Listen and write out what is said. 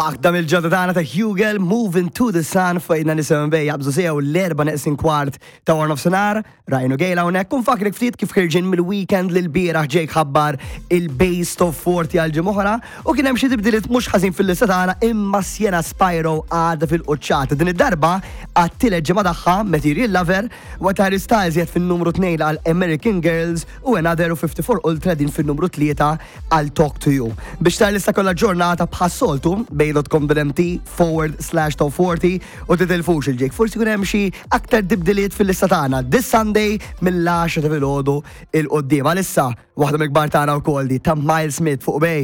Waħda mill-ġodda tagħna ta' Hugel Moving to the Sun fejna nisimgħu bej jaqbżu sew l-erba' neqsin kwart ta' wara nofsinhar. Rajnu Gejla hawnhekk u nfakrek ftit kif ħirġin mill-weekend li l-bieraħ Jake ħabbar il-Base of 40 għal ġimgħa u kien hemm xi tibdiliet mhux ħażin fil-lista tagħna imma Sienna Spyro għadha fil-quċċata. Din id-darba għat-tielet ġimgħa tagħha Material Lover waqt Harry Styles jgħid fin-numru 2 għal American Girls u Another u 54 Ultra din fin-numru 3 għal Talk to You. Biex tara lista kollha ġurnata bħas-soltu bay.com.mt/top40 u titilfux il-ġejk. Forsi kun hemm xi aktar tibdiliet fil-lista tagħna this Sunday mill-10 ta' filgħodu il-qoddim. Għalissa waħda mill-kbar tagħna wkoll di ta' Miles Smith fuq Bay.